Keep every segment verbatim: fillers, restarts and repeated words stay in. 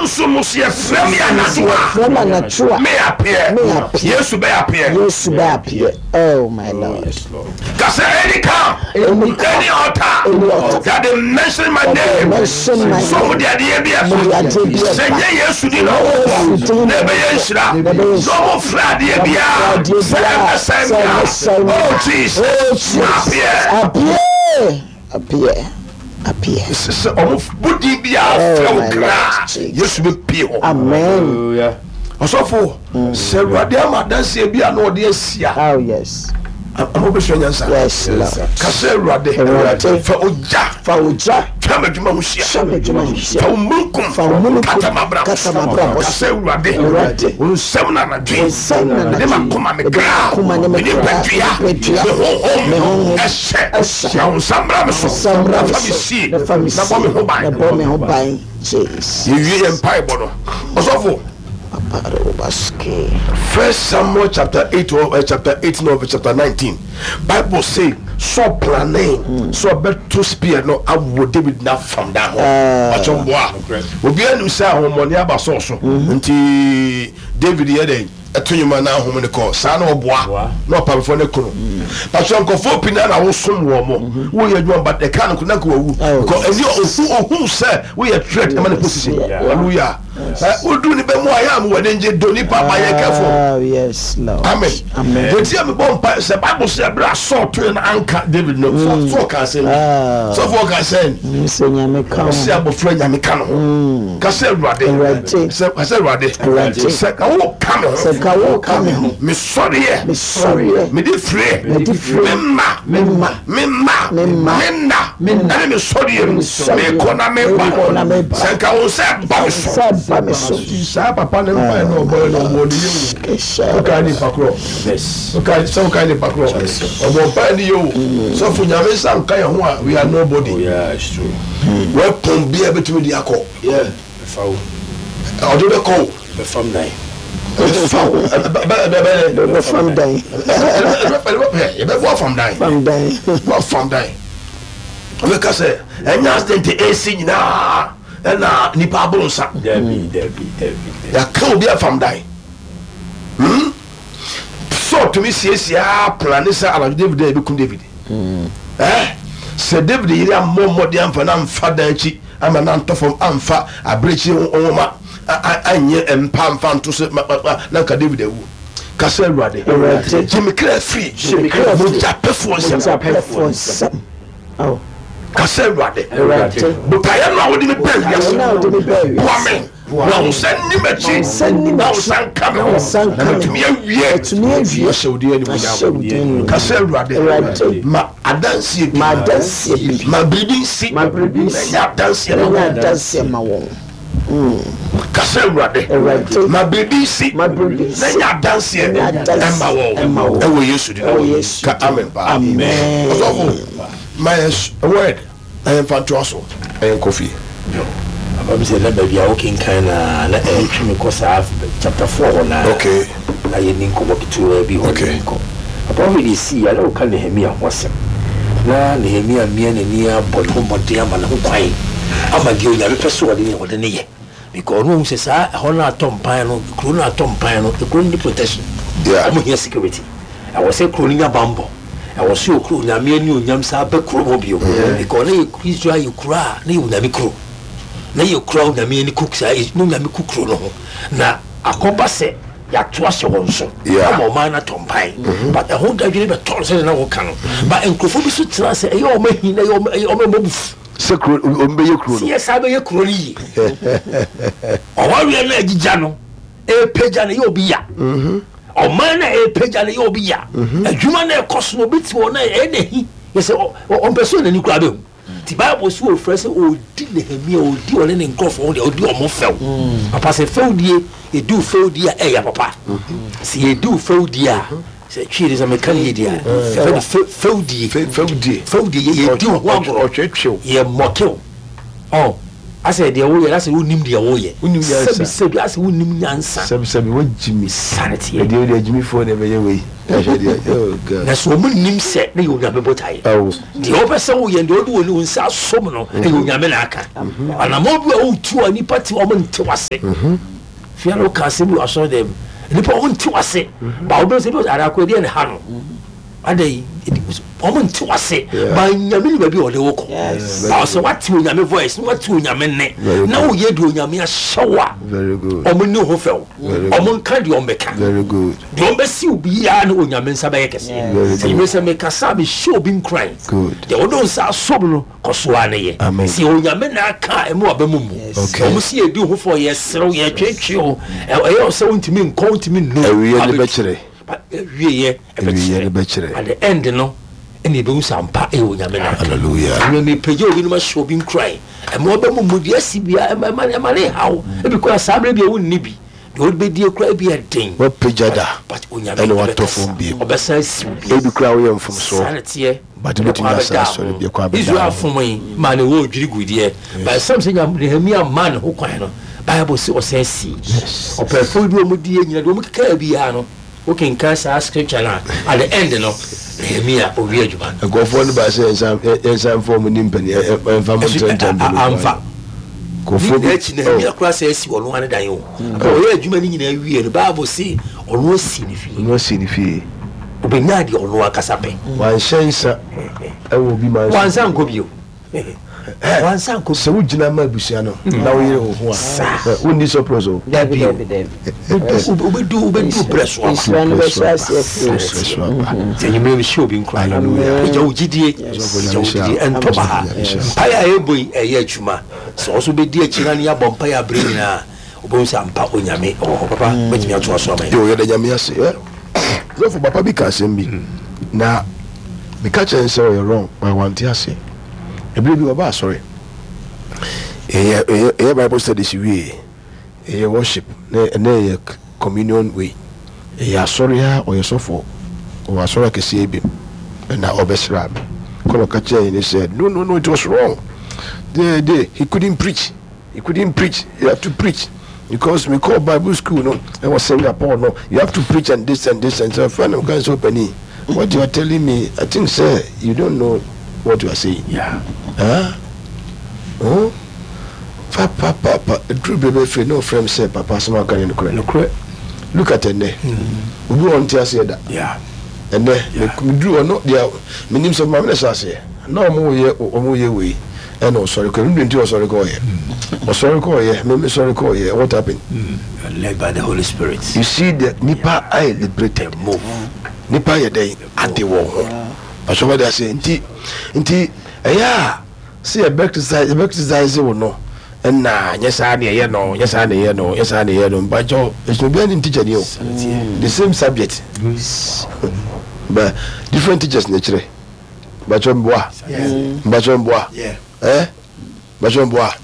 Sunsum mu so yɛfrɛ me anadwo a, Yɛfrɛ me anadwo a, me appear. Me appear. Yesu bɛ appear. Yesu bɛ appear. Oh my Oh, Lord. yes, Lord. Ka sɛ any camp, Any any altar, Any altar. that they mention my That they name, mention my so mo name. de adeɛ bi Mo de ɛba, adeɛ bi sɛ ɛba. nyɛ Yesu din na Yesu ɔwɔ din na na ɛbɛyɛ nhyira, na ɛbɛyɛ na ɔmo frɛ adeɛ Na biara ɔmo frɛ adeɛ sɛ biara ɛbɛsɛe sɛ me a, ɛbɛsɛe me a. oh Jesus, Oh Jesus. appear. Appear. Appear. Appear. Sɛ sɛ ɔmo bɔ din biara Oh, frɛ wo my kra, Lord Jesus. Yesu bɛpie hɔ. Amen. Hallelujah. Ɔsɔfo, sɛ Awurade ama adanseɛ bi a na ɔde asi a, Oh yes. ama wobɛsua nyansa. Yes, Lord. Ka sɛ Awurade, Awurade. fa ogya Fa ogya twa m'adwuma ho hyia. twa m'adwuma ho hyia. Fa wo mununkum Fa wo mununkum kata m'abrabɔ kata so. m'abrabɔ Ka so. sɛ Awurade, Awurade. wo nsɛm na anadwo yi, Wo nsɛm na mede anadwo yi, m'akoma, me mede kra, m'akoma ne me me kra, nipadua, me nipadua, me honhom me honhom ɛhyɛ. ɛhyɛ. Na wo nsa mmra me so, Nsa mmra na me fa me so, sie, na fa me na bɔ me sie, ho ban. na bɔ me ho ban. Jesus. Yɛwie yɛn mpaebɔ no, ɔsɔfo, Aparobaske. First Samuel chapter eight or uh, chapter eighteen or chapter nineteen, Bible say Saul planning sɛ ɔbɛto spear no awɔ David na fam da hɔ ɔkyɛn boa obiara nim sɛ ahomɔne aba Saul so, nti David yɛ dɛ ɛto nnwuma na ahom ne kɔ saa na ɔboa na ɔpamfoɔ ne kono pastor. Nkɔfoɔ pii na na wosom wɔ mo, woyɛ adwuma, but ɛka no na nka wawu Oh, because ɛni ohu ohu sɛ woyɛ threat ɛma ne position. Yeah. Hallelujah. Ɛ wodu ne bɛ mu a yɛ a mo wɔ ne ngye do nipa ba yɛ careful. Oh yes, Lord. Amen. Amen. Yɛti a mebɔ mpa sɛ Bible sɛ ɛberɛ a Saul toe no anka David no, Saul ka asɛm bi. Ah. Sɔfoɔ ka sɛn? Sɛ Nyame ka ho. Ɔsɛ abɔfra Nyame ka no ho. Ka sɛ Awurade. Awurade. Sɛ ka sɛ Awurade. Awurade. Sɛ ka wo ka me ho. Sɛ ka wo ka me ho. Mesɔreɛ. Mesɔreɛ. Mede fire. Mede fire. Memma. Memma. Memma. Memma. Menna. Menna. Ɛne mesɔreɛ mu. Ɛne mesɔreɛ mu. Mekɔ na meba. Mekɔ na meba. Sɛ nka wo sɛ ba me so. Sɛ ba me so. Saa papa ne mpae na ɔbɔɛ na ɔbɔ ne yɛ wo. Kesha. Wokae nipa korɔ. Yes. Wokae sɛ wokae nipa korɔ. Ɔbɔ mpae ne yɛ o. Sɔfo, Nyame nsa nka yɛn ho a, we are nobody. Oh, yeah, it's true. Weapon bia bɛtumi de akɔ. Yeah. Bɛfa wo. Ɔde bɛkɔ o. Bɛfam nan. Bɛfa wo. Bɛ bɛ Bɛbɛ fam dan. Yɛbɛbɔ afam dan. Fam dan. Bɔ afam dan. Ɔbɛka sɛ ɛnyɛ accident esi nyinaa ɛna nipa aboro nsa. Dabi, dabi, dabi, dabi. Yɛaka obi afam dan. Hmm? Saul tumi siesie a plan sɛ anadwo David a yɛbɛkum David. Eh? Sɛ David yere ammɔ mmɔden amfa na amfa dan akyi ama na antɔ fam amfa abirekyi nwoma a- a- anyɛ mpa amfa nto so ma- ma- ma- na nka David awu. Ka sɛ Awurade, Awurade. gye me kra firi Gye me kra firi mogyapɛfoɔ nsɛm. Mogyapɛfoɔ nsɛm. Oh. Ka sɛ Awurade, Awurade. botaeɛ no a wode me baa wiase, Botaeɛ no a wode me baa wiase. boa me na wo nsa nni m'akyi, Na wo nsa nni na wo m'akyi. nsa nka me Na ho wo nsa nka na me ho. matumi awie. Matumi awie. Ahyɛ wo din Ahyɛ wo din animuonyam. animuonyam. Ka sɛ Awurade, Awurade. ma adanseɛ bi, Ma adanseɛ bi. ma biribi nsi, Ma biribi nsi. na ɛnyɛ adanseɛ ma Na ɛnyɛ wɔn. adanseɛ ma wɔn. Ka sɛ Awurade, Awurade. ma biribi nsi, Ma biribi nsi. na ɛnyɛ adanseɛ Na ɛnyɛ adanseɛ ɛma wɔn ɛma wɔn. ɛwɔ Yesu din Ɛwɔ Yesu ka amen paa. Amen. Ɔsɔfo, ma yɛ s- word na yɛmfa ntoa so ɛyɛ nkɔ fie. Yo. Papa bi sɛ na baabi a wokenkan na na ɛtwe me kɔ saa chapter four hɔ na Okay. na yɛni nkɔmmɔ ketewa bi hɔ. Okay. Ne nkɔ papa wohwɛ de sii a na woka Nehemia ho asɛm na Nehemia mmea n'ani abɔ ne ho mmɔden ama ne ho kwan ama deɛ Onyame pɛ so ɔde ne ɔde ne yɛ, because ɔno ɔhu sɛ saa ɛhɔ no atɔ mpan no, kuro no atɔ mpan no, kuro no ne protection. Yeah. Ɔmo hia security, ɛwɔ sɛ kuro no nya bambɔ, ɛwɔ sɛ okuro Onyame ani onyam saa bɛ kuro hɔ bio, because na yɛ Israel yɛ kuro a na yɛ Onyame kuro, na yɛ kuro a Onyame ani ku saa na Onyame ku kuro no ho, na akɔba sɛ yɛato ahyɛ wɔn so Yeah. ama ɔman no atɔ mpan, but ɛho dadwene bɛtɔ no sɛdeɛ na wɔka no, but nkurɔfoɔ bi so tena sɛ ɛyɛ ɔma hi na ɛyɛ ɔma ɛyɛ ɔma mmɔ bufu sɛ kuro ɔmo bɛyɛ kuro sɛ no yɛ saa bɛyɛ kuro no yie, ɔwareɛ no agyigya no ɛpagya no yɛ obi ya, ɔman no a ɛpagya no yɛ obi ya, adwuma no ɛkɔ so no obi te hɔ no ɛyɛ n'ahi yɛ sɛ ɔ- ɔ- ɔmpɛ sɛ ɔnani koraa bɛhu, nti Bible sɛ wɔfrɛ sɛ ɔdi Nehemia, ɔdi ɔne ne nkurɔfoɔ ho deɛ ɔdi ɔmo fɛw. Papa, sɛ fɛwdie yɛdi wo fɛwdie a ɛyɛ papa, sɛ yɛdi wo fɛwdie a, sɛ twii de sɛ meka ne yɛdi a yɛfrɛ no fɛ- fɛwdie. Fɛ- fɛwdie. Fɛwdie, yɛ- yɛdi wo ho agorɔ. Ɔtwetwew. Yɛ mɔkew ɔ Asɛ deɛ woyɛ, asɛ wonim deɛ woyɛ. Wonim nyansa. Sɛbi sɛbi, asɛ wonim nyansa. Sɛbi sɛbi, wagyi mi. Sane teɛ. Ɛdeɛ wode agyimifoɔ na ɛbɛyɛ wei, ɛhwɛ deɛ, oh God. Na sɛ ɔmo nim sɛ ne yɛ Onyame botaeɛ. Awo. Deɛ wopɛ sɛ woyɛ, deɛ wode wɔ wo nsa asom no, ɛyɛ Onyame na aka. Anammɔ bi a wotu a nipa te, ɔmo nte wase. Fia no, woka asɛm bi wɔ asɔre dɛm, nipa ɔmo nte wase ba, wobɛhu sɛ bi arakɔ ɛdeɛ ne ha no ada yi, ɔmo nte wase. Yeah. Ba Nyame ne baabi a ɔde wo kɔ. Yes. Ba sɛ wate Onyame voice na wate Onyame nne Very na good. woyɛ deɛ Onyame ahyɛ wo a, Very good. ɔmo ne ho fɛw. Very good. Ɔmo nka deɛ ɔmbɛka. Very good. Deɛ ɔmbɛsi wo biara ne Onyame nsa bɛyɛ kɛseɛ. Very Sɛ good. nyime sɛ mekasa a, mehyɛ obi nkuran. Good. Deɛ wode wo nsa asom no, kɔ so a ne yɛ. Amen. Sɛ Onyame na aka a, ɛma waba mu mu. Okay. Ɔmo si yɛdi ho fɔ, yɛserew, yɛtwetwe o, Ɛ- ɛyɛ wo sɛ wontumi nkɔ, wontumi nnu. Awie ne bɛkyerɛ. Ba- awieyɛ. Awieyɛ ne bɛkyerɛ. At the end no, ɛna ɛbɛhu sɛ ampa ɛyɛ Onyame na aka. Hallelujah. Ɛnna mepagya obi no, ma hyɛ obi nkuran, ɛma ɔbɛ mu mu deɛ asi bia, ɛma ɛma ɛma ne haw ebi kora saa berɛ bi a wonni bi deɛ wode bɛdie kora ebi ɛden. Wapagya da. But Onyame Ɛna watɔ ɛbɛkasa. fam bio. Ɔbɛsan asiw bio. Ebi kora woyɛ Saa mfomsoɔ. ne teɛ. But wobɛtumi Ɛkwan asa bɛda asɔre ho. bi, ɛkwan bɛda Israel ho. fom yi maa ne wɔ odwiri gu deɛ, but ɛsɛm sɛ Nyam- Nehemia maa ne ho kwan no, Bible sɛ ɔsan sii ɔpɛfoɔ bi a ɔmo die nyina deɛ ɔmo kekaa biara no, wokenkan saa scripture no a, at the end no, Nehemia owie adwuma no. Nkurɔfoɔ no ba sɛ yɛnsan yɛnsan fɔ ɔmo ni mpani ɛnfa mo Ɛso- ntɛntɛn. a- a- amfa. Nkurɔfoɔ ne akyi bi Nehemia koraa sɛ asi ɔno ane dan o. Ɔyɛ adwuma no nyinaa wie no, Bible se ɔno asi ne fie. Ɔno asi ne fie. Obɛnya deɛ ɔno ankasa pɛ. Wanhyɛ nsa ɛwɔ obi man so. Wansa nkɔ bio, wansa nkɔ. Sɛ wogyina ma abusua no na woyere wo ho a, ɛ, wonni surplus o. Dabi, dabi, dabi. Wobɛdu wobɛdu berɛ so aba. Nhyira no bɛhyɛ aseɛ firi wo. Berɛ so aba. Sɛ nyimmerɛ mehyɛ obi nkura. Hallelujah. Ɛgya wo gyidie, gya wo gyidie, ɛntɔ ba ha. Mpaeɛ a ɛbɔ yi, ɛyɛ adwuma sɛ ɔso bɛdi akyi na ne yɛabɔ mpaeɛ aberɛ nyinaa, wobɛhu sɛ ampa Onyame ɔwɔ hɔ. Papa, bɛtumi atoa so ama yɛ. Yo, yɛda Nyame ase. Ɛ, sɔfo papa bi ka asɛm bi na meka kyerɛ no sɛ ɔyɛ wrong, but wante aseɛ. Ɛberɛ bi ɔba asɔre, ɛyɛ ɛyɛ ɛyɛ Bible studies wie, ɛyɛ worship na ɛnɛ ɛyɛ communion wei, ɛyɛ asɔre a ɔyɛ sɔfoɔ, ɔwɔ asɔre akɛseɛ bi mu, ɛna ɔbɛsra me kɔnɔ ɔka kyerɛ yɛn sɛ no no no it was wrong. they they he couldn't preach, he couldn't preach. You have to preach because we call Bible school no, ɛwɔ Singapore no, you have to preach and this and this and so. Friend of God, so penny, what you are telling me, I think say you don't know what you are saying. Yeah. Huh? Oh? Pa pa pa pa, duru bebe firi na ɔfrɛ m sɛ papa, asɛm a ɔka ne nokorɛ. Nokorɛ. Look at ɛnɛ, obi wɔ nte aseɛ da. Yeah. Ɛnɛ meduru hɔ no deɛ, menim sɛ maame na hyɛ aseɛ na ɔmo yɛ ɔmo yɛ wei, ɛna ɔsɔre kɔ ɛnu nti ɔsɔre kɔ ɔyɛ ɔsɔre kɔ ɔyɛ mɛmi sɔre kɔ ɔyɛ. What happened? You are led by the Holy Spirit. You see, the nipa ayɛ liberated. Move. Nipa yɛ dɛn ade wɔ ho asɔfo de ase. nti nti ɛyɛ a sɛ yɛbɛ criticize yɛbɛ criticize wo no, ɛna nyɛ saa ne ɛyɛ no, nyɛ saa ne ɛyɛ no, nyɛ saa ne ɛyɛ no. Mpakyɛw, ɛsɛ obiara ne teacher ni o. The same subject but different teachers na kyerɛ. Mpakyɛw, mboa. Mpakyɛw, mboa. Ɛ, mpakyɛw, mboa.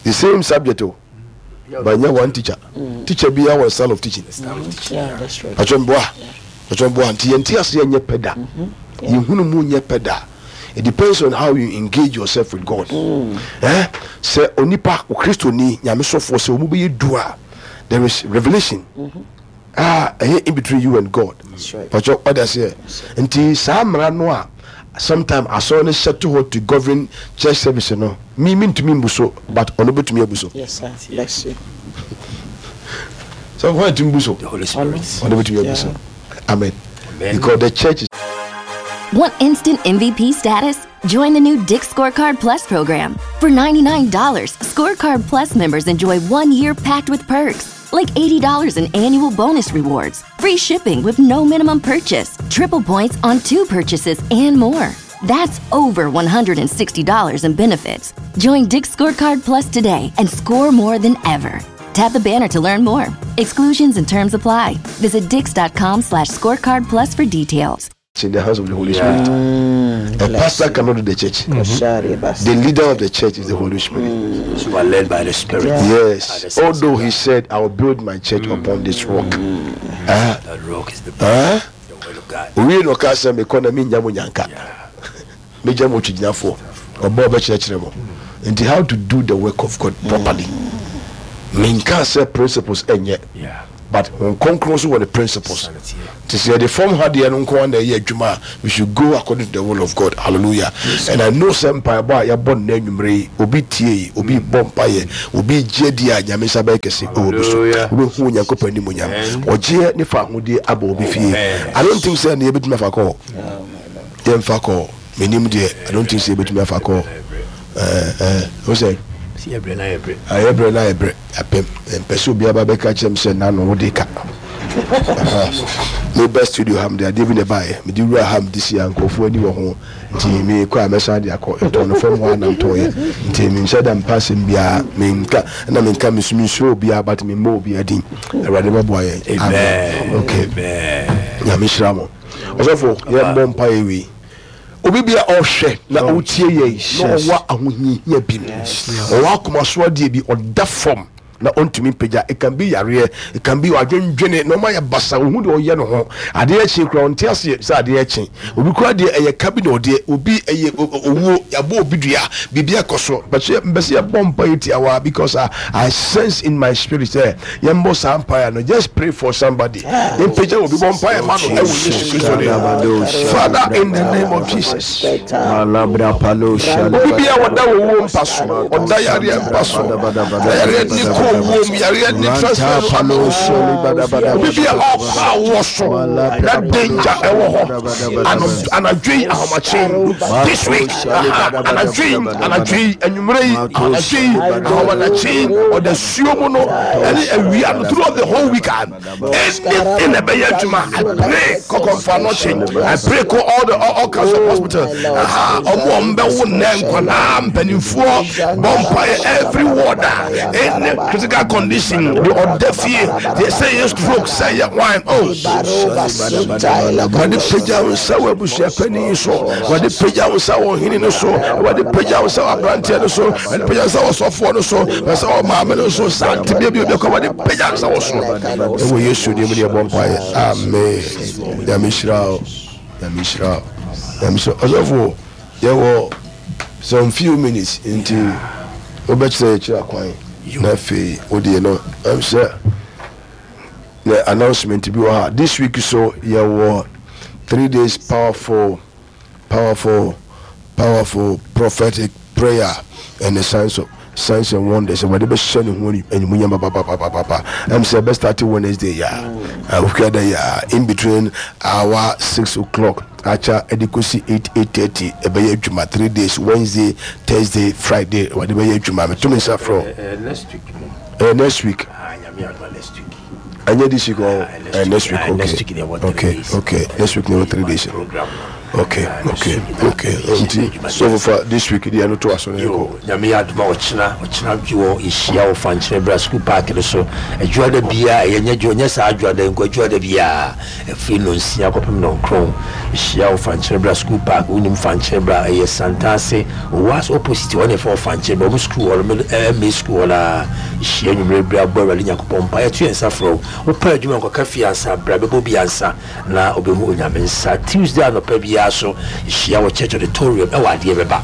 The same subject o, but nyɛ one teacher. Teacher bi wɔ style of teaching. Yeah, that's right. Mpakyɛw, mboa. Mpakyɛw, mboa. Nti yɛn ti ase yɛ nyɛ pɛ da, yɛhunu mu nyɛ pɛ da. It depends on how you engage yourself with God. Eh, sɛ onipa Okristoni Nyame sɔfoɔ sɛ ɔmu bɛyɛ du a, there is revelation a ɛyɛ in between you and God. That's right. Mpakyɛw, ɔda seɛ nti saa mmara no a sometime asɔre no hyɛ to hɔ to govern church service no, mi mi ntumi mbu so, but ɔno bɛtumi abu so. Yes, sir. Bless you. Sɛ wɔn ntumi bu so. The Holy Spirit. Ɔno bɛtumi abu so. Amen. Amen. Because the church is Want instant M V P status? Join the new Dick's Scorecard Plus program. For ninety-nine dollars, Scorecard Plus members enjoy one year packed with perks, like eighty dollars in annual bonus rewards, free shipping with no minimum purchase, triple points on two purchases, and more. That's over one hundred sixty dollars in benefits. Join Dick's Scorecard Plus today and score more than ever. Tap the banner to learn more. Exclusions and terms apply. Visit dicks dot com slash scorecard plus for details. In the hands of the Holy Spirit. A pastor cannot do the church. Koshari bas. The leader of the church is the Holy Spirit. You are led by the Spirit. Yes. Although he said, "I will build my church upon this rock." Ah, That rock is the, ah. the word of God. Owie na ɔka sɛ mekɔ na menya mo nyanka, megya mo twigyinafoɔ, ɔbɔ ɔbɛkyerɛkyerɛ mo. Nti how to do the work of God properly. Menka sɛ principles ɛnyɛ, Yeah. but Honhom Kronkron nso wɔ ne principles. Sanity. Nti sɛ yɛde fam ha deɛ no nko ara na ɛyɛ adwuma a, we should go according to the will of God. Hallelujah. And I know sɛ mpaebɔ a yɛabɔ no anwummerɛ yi, obi tie yi, obi bɔ mpaeɛ, obi gye di a, Nyame nsa bɛyɛ kɛse ɛwɔ obi so. Hallelujah. Wobɛhu Onyankopɔn animuonyam. Amen. Ɔgyeɛ ne fa ahodie aba obi fie. Amen. I don't think sɛ ne yɛbɛtumi afa kɔ. Yɛmfa kɔ. Menim deɛ, I don't think sɛ yɛbɛtumi afa kɔ. Ɛɛ ɛɛ, wo sɛ Si yɛ brɛ na yɛ brɛ. Ayɛ brɛ na ayɛ brɛ apɛm mpɛ sɛ obiara ba bɛka kyerɛ m sɛ nano wode ka. Meba studio ha, mede adeɛ bi na ɛbaeɛ, mede wura ha, mede si a nkurɔfoɔ ani wɔ ho, nti mekɔ a mɛsan de akɔ ɛtɔn no fam hɔ a nam tɔɔyɛ, nti menhyɛ da mpa asɛm biara menka na menka mesu mensuro obiara, but memmɔ obiara din. Awurade bɛboa yɛn. Amen. Okay. Amen. Nyame hyira mo. Ɔsɔfo, yɛmmɔ mpaeɛ wei. Obi bia ɔhwɛ na ɔtie yɛn na ɔwɔ ahohiahia bi mu, ɔwɔ akomaso adeɛ bi, ɔda fam na ɔntumi mpagya, it can be yareɛ, it can be adwendwene na ɔma yɛ basa, ohu deɛ ɔyɛ no ho adeɛ akyi kora, ɔnte aseɛ sɛ adeɛ akyi. Obi kora deɛ ɛyɛ ka bi na ɔdeɛ obi ɛyɛ owuo, yɛabɔ obi dua, biribi akɔ so bɛsɛ mbɛsɛ yɛbɔ mpa yɛ tiawa, because I, I sense in my spirit sɛ yɛmbɔ saa mpaeɛ no. Just pray for somebody. Yɛmpagya obi, bɔ mpaeɛ ma no ɛwɔ Yesu Kristo din. Father, in the name of Jesus, obi bia wɔda owuo mpa so, ɔda yareɛ mpa so, na yareɛ ne kɔ owuo mu, yareɛ ne transfer no ama obi bia ɔkɔ awoɔ so na danger ɛwɔ hɔ. Ano- anadwo yi, ahomakye, this week, aha, anadwo yi, anadwo yi, anwummerɛ yi, anadwo yi, ahomakye, ɔda suo mu no ɛne awia no, throughout the whole week, ah, anything ɛbɛyɛ adwuma, I pray kɔkɔmfa no kye, I pray kɔ all the all, all kinds of hospital. Aha, ɔmo a ɔmo bɛwo nnɛ, nkwadaa, mpanimfoɔ, bɔ mpaeɛ, every ward a any critical condition de ɔda fie deɛ, sɛ yɛ stroke, sɛ yɛ wine, oh, wɔde pagya wo nsa wɔ abusuapanin so, wɔde pagya wo nsa wɔ ɔhene no so, wɔde pagya wo nsa wɔ aberanteɛ no so, wɔde pagya wo nsa wɔ sɔfoɔ no so, wɔde sɛ wɔ maame no so, saa tebea bi obi akɔ, wɔde pagya wo nsa wɔ so ɛwɔ Yesu din mu ne yɛbɔ mpaeɛ, amen. Nyame hyira wo, Nyame hyira wo, Nyame hyira wo. Ɔsɔfo, yɛwɔ some few minutes, nti wobɛkyerɛ yɛkyerɛ akwan na afei wodeɛ no ɛm sɛ the announcement bi wɔ ha. This week so yɛwɔ three days powerful, powerful, powerful prophetic prayer and the signs of signs and wonders. Wɔde bɛhyɛ ne ho animuonyam papapapapa. Ɛm sɛ ɛbɛ start Wednesday ya okuada ya, in between hour six o'clock akya ɛde kɔsi eight, eight thirty. Ɛbɛyɛ adwuma three days, Wednesday, Thursday, Friday. Wɔde bɛyɛ adwuma. Meto me nsa frɛ. Eh, next week mo. uh, next week. Ah, Nyame adoma, next week. Ɛnyɛ this week or Ah, next uh, week. next week? Ah, Okay. next week there were three Okay. days. Okay, next week there were three days. Program no. Okay. Ah, next Okay. week. Okay, nti so far this week deɛ no to aso no yɛkɔ. Yo, Nyame yɛ adoma, ɔkyena ɔkyena dwo yɛhyia wɔ Fankyerɛ Bra School Park no so. Adwuada biaa ɛyɛ nyɛ dwo, nyɛ saa adwuada nko, adwuada biaa ɛfiri nonsia kɔpem nɔnkron yɛhyia wɔ Fankyerɛ Bra School Park. Wonim Fankyerɛ Bra, ɛyɛ Santase Owas opposite hɔ ne ɛfɛ wɔ Fankyerɛ Bra ɔmo school hɔ no, ɛmɛ school hɔ naa. Yɛhyia nwummerɛ bere abɔ Awurade Nyankopɔn mpa. Yɛto yɛn nsa frɛ wo, wopɛ adwuma nkɔka fie ansa, bra bɛbɔ bi ansa na wobɛhu Onyame nsa. Tuesday anɔpa biara so yɛhyia wɔ church auditorium ɛwɔ adeɛ bɛba,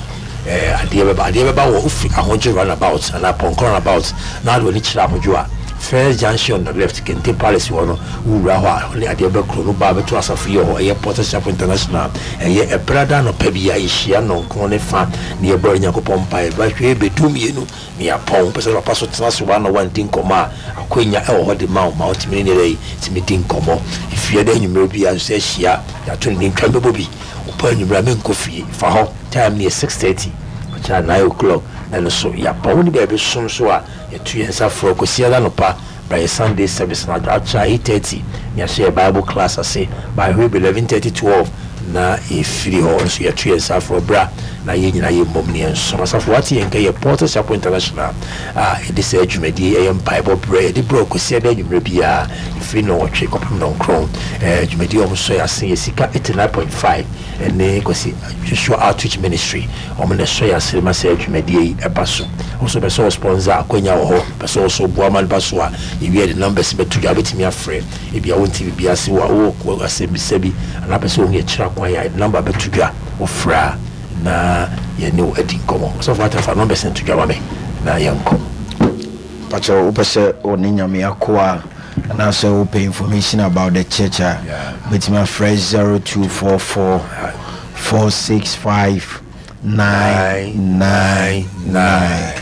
eh, adeɛ bɛba, adeɛ bɛba wɔ wofi Ahodwo roundabout anaa Pɔnkɔ roundabout na ade w'ani kyerɛ Ahodwo a, first junction on the left, Kente Palace hɔ no, wowura hɔ a, ne adeɛ bɛ kuro no ba bɛto asafo yi wɔ hɔ, ɛyɛ Porter Chapel International. Ɛyɛ ɛbrada anɔpa bi a yɛhyia nnɔnkron ne fa ne yɛbɔ Nyankopɔn mpaeɛ bɛhwɛ bɛdu mmienu ne yɛapɔn. Wopɛ sɛ papa so tena so one on one di nkɔmmɔ a, akwanya ɛwɔ hɔ de ma wo ma wotumi ne ne yi tumi di nkɔmmɔ. Efie dɛ anwummerɛ bi a nso ahyia yɛato ne ntwa bɛbɔ bi. Wopɛ anwummerɛ a menkɔ fie fa hɔ, time no yɛ six thirty, ɔkyerɛ nine o'clock na no so yɛapɔn. Wo ne baabi som so a, yɛto yɛn nsa frɛ kɔsi anɔpa by Sunday service na akyerɛ eight thirty ne yɛahyɛ yɛ Bible class ase by hwɛ eleven thirty, twelve na yɛfiri hɔ nso. Yɛto yɛn nsa frɛ bra na yɛn nyinaa yɛ mmom ne yɛn nsom. Asafo wate yɛn nka yɛ Porter Chapel International a yɛde saa dwumadie ɛyɛ mpaebɔ berɛ yɛde berɛ ɔkɔsi ɛda anwummerɛ biara ɛfiri nnɔnwɔtwe kɔpem nnɔnkron. ɛɛ dwumadie a wɔn sɔ yɛ ase yɛ Sika eighty nine point five ɛne Kwasi Joshua Outreach Ministry. Wɔn na ɛsɔ yɛ ase ma sɛ dwumadie yi ɛba so. Wɔn nso bɛ sɛ wɔ sponsor, akɔnya wɔ hɔ, bɛ sɛ wɔso boa ma no ba so a, yɛwie de numbers bɛto dwa, wobɛtumi afrɛ. Ebi a wonte biribi ase wɔ wɔ asɛmbisa bi anaa pɛ sɛ wɔn yɛ kyerɛ kwan a, number bɛto dwa, wɔfrɛ a Na yɛne wo adi nkɔmmɔ. Ɔsɔfo Atafa, numbers no to dwa ma me na yɛnkɔ. Pakyɛ, wopɛ sɛ ɔne Nyame akoa anaasɛ wopɛ information about the church a, wobɛtumi afrɛ zero two four four four six five nine nine nine,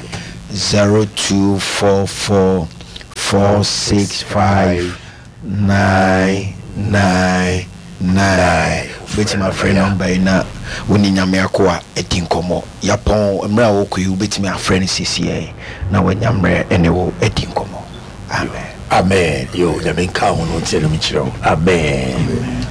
zero two four four four six five nine nine nine. Wobɛtumi afrɛ number yi na wone Nyame akoa adi nkɔmmɔ. Yɛapɔn mmerɛ a wɔkɔ yi, wobɛtumi afrɛ no sesiɛ na wanya mmerɛ ɛne wo adi nkɔmmɔ. Amen. Amen. Yo, Nyame nka ho no ntiɛ no mekyerɛ wo. Amen.